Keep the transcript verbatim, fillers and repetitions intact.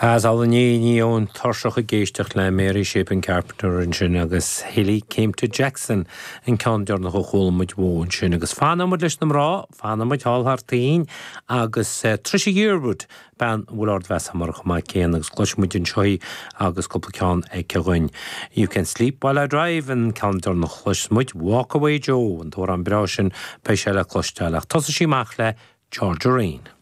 As ní ní ón tuirseach ag éisteacht le Mary Chapin Carpenter ansin agus Hilly Came to Jackson an ceann deireanach a chuala muid uaithi ansin agus fanfaimid leis na mná, fanfaimid thall thar toinn agus uh, Trisha Yearwood bean bhfuil ardmheas mar chumá céan agus cloisfimid anseo í agus cúpla ceann aici dhúinn. You can sleep while I drive an ceann deireanach a chloisfimid Walk Away Joe an t-amhrán breá sin beidh sé le cloisteáil ach tosóidh sí amach le Georgia Rain.